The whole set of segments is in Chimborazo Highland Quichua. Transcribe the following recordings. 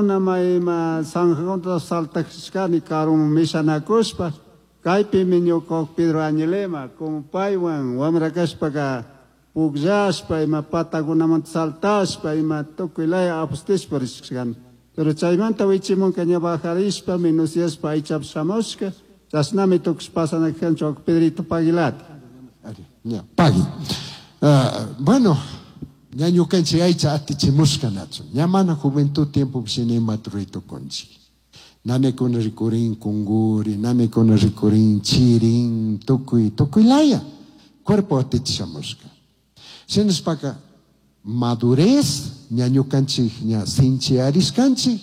Nama ima zanjakunata saltashkani karuman mishanakushpa, kaypimi ñuka Pedro Añilema, como paywan wamra kashpaka pukllashpa ima patakunamanta saltashpa ima tukuy laya apostishpa rishkani. Pero chaymanta wichimunka ña bajarishpa minuciashpa aychapi shamushka, chashnami tukush pasanakanchik Pedrito Paguilata. Ari, ña, pagui. Ah, bueno, ña ñukanchik aycha atichimushka nachu. Ña mana juventud tiempo shina imata ruray tukunchik. Nanakuna rikurin kunguri, nanakuna rikurin chirin, tukuy, tukuy laya. Cuerpo atichishamushka. Shinashpaka madurez ña ñukanchik ña sinchiyarishkanchik,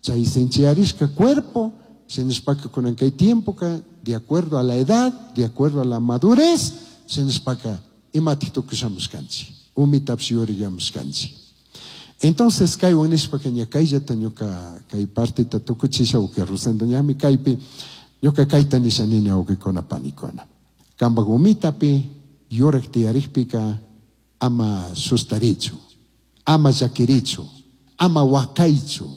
chay sinchiyarishka cuerpo, shinashpaka kunan kay tiempoka de acuerdo a la edad, de acuerdo a la madurez, shinashpaka imatik tukushamushkanchik, umitapish yuriyamushkanchik. Entonces kaywan nishpaka ña kayllata ñuka kay partita tukuchisha wawqi Rosendo ñami kaypi ñuka kayta nisha nini wawqikuna panikuna. Kampak umitapi yurak tiyarikpika ama sustarichu, ama llakirichu, ama wakaychu,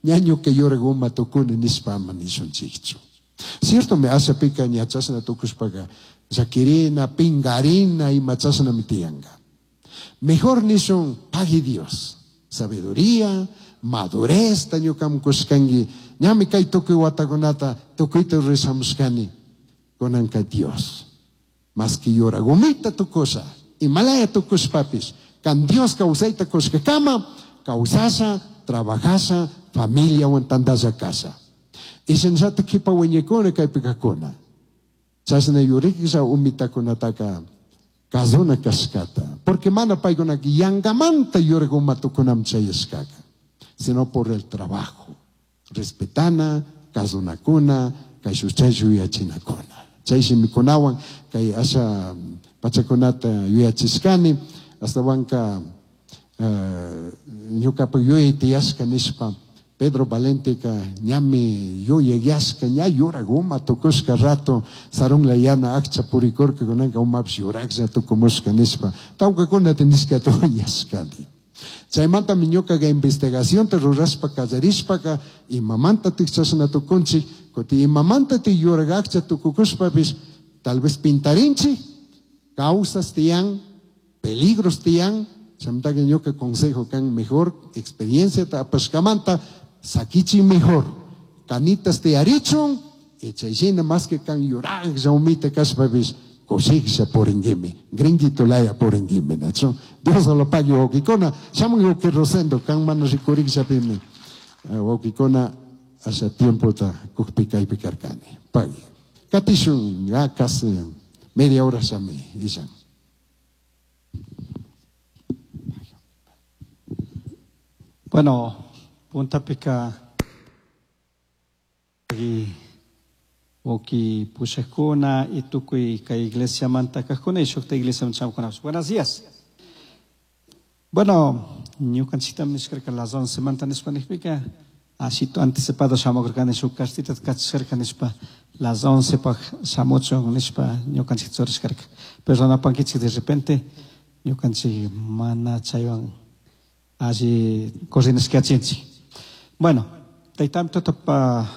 ña ñuka yurak uma tukuni nishpa ama nishunchikchu. Ciertomi ashapika ña chashna tukushpaka llakirina, pingarina ima chashnami tiyanka. Mejor nishun pagui Dios, sabiduría, madurez ta ñukaman kushkanki, ñami kay tukuy watakunata tukuyta rurashamushkani, kunanka Dios. Maski yurak umita tukusha, imalaya tukushpapish, kan Dios kawsayta kushkakama, kawsasha, trabajasha, familiawan tantalla kasha. Y shinallata kipa wiñaykuna kaypi kakuna. Chashna yuriklla umitakunataka kazuna kashkata. Porque mana paykunaka yangamanta yurak uma tukunaman chayashkaka, sino por el trabajo. Respetana, kazunakuna, kay chay yuyachinakuna. Chay shimikunawan kay asha pachakunata yuyachishkani, astawanka ñukapak yuyay tiyashka nishpa Pedro Valenteka ñami yuyayashka, ña yurak uma tukushka rato, sarunla yana akcha purikurka kunanka umapish yuraklla tukumushka nishpa, tawkakunata nishkata uyashkani. Chaymantami ñukaka investigacionta rurashpa kallarishpaka imamantatik chashna tukunchik, kuti imamantatik yurak akcha tukukushpapish tal vez pintarinchik, causas tiyan, peligros tiyan, chaymantaka ñuka consejo kan mejor experienciata apashkamanta sakichi mejor, canitas tiyarichun, y chayshina más que kan yuraklla umita kashpapish kushiklla puringuimi, gringuito laya puringuimi, nachu? Dios lo pague wawkikuna, shamun wawki Rosendo, kan mana rikurikllapimi, wawkikuna asha tiempota kukpi kaypi karkani. Pagui. Katishun, ya casi media hora shami, illan. Bueno, puntapika wawki pushakuna y tukuy kay iglesia manta kajkuna y shukta iglesia chamkuna. Buenos días. Bueno, ñukanchiktam nishkarka las 11 manta nishpa nishpika, así anticipado shamukurkani shuk cartita kachishkarka nishpa las 11 pak shamuchun nishpa ñukanchik churashkarka. Pero napankichik de repente ñukanchik mana chaywan alli coordinashkachinchik. Bueno, taytami tutapa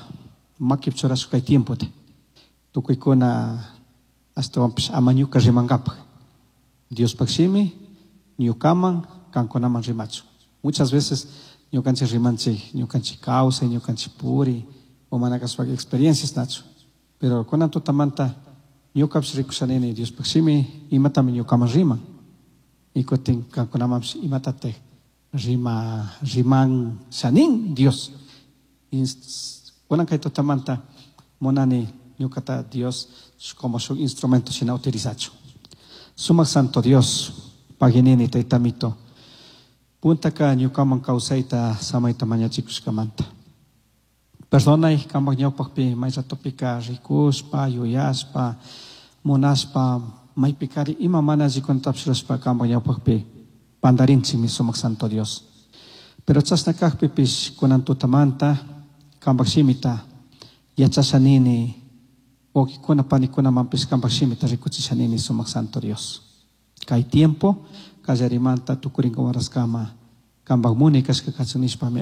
makip churashka kay tiempote. Tukuykuna astawanpish ama ñuka rimankapak. Diospak shimi ñukaman kankunaman rimachu. Muchas veces ñukanchik rimanchik, ñukanchik kawsay, ñukanchik puri, o mana kashpaka experiencias nachu. Pero kunan tutamanta ñukapish rikushanini Diospak shimi imatami ñukaman riman. Y kutin kankunamanpish imatatik rima, riman shanin Dios. Kunan kay tutamanta munani ñukata Dios como su instrumento shina utilizachu. Sumak Santo Dios, paginini taytamito. Puntaka ñukaman kawsayta samayta mañachikushkamanta. Perdonay kampak ñawpakpi may ratopika rikushpa, yuyashpa, munashpa, maypikari ima mana allikunatapish rurashpa kampak ñawpakpi pandarinchikmi sumak Santo Dios. Pero chashna kakpipish kunan tutamanta kampak shimita yachashanini, wawkikuna panikunamanpish kampak shimita rikuchishanini sumak Santo Dios. Kay tiempo kallarimanta tukurinka waraskama kampak muni kashka kachun nishpami.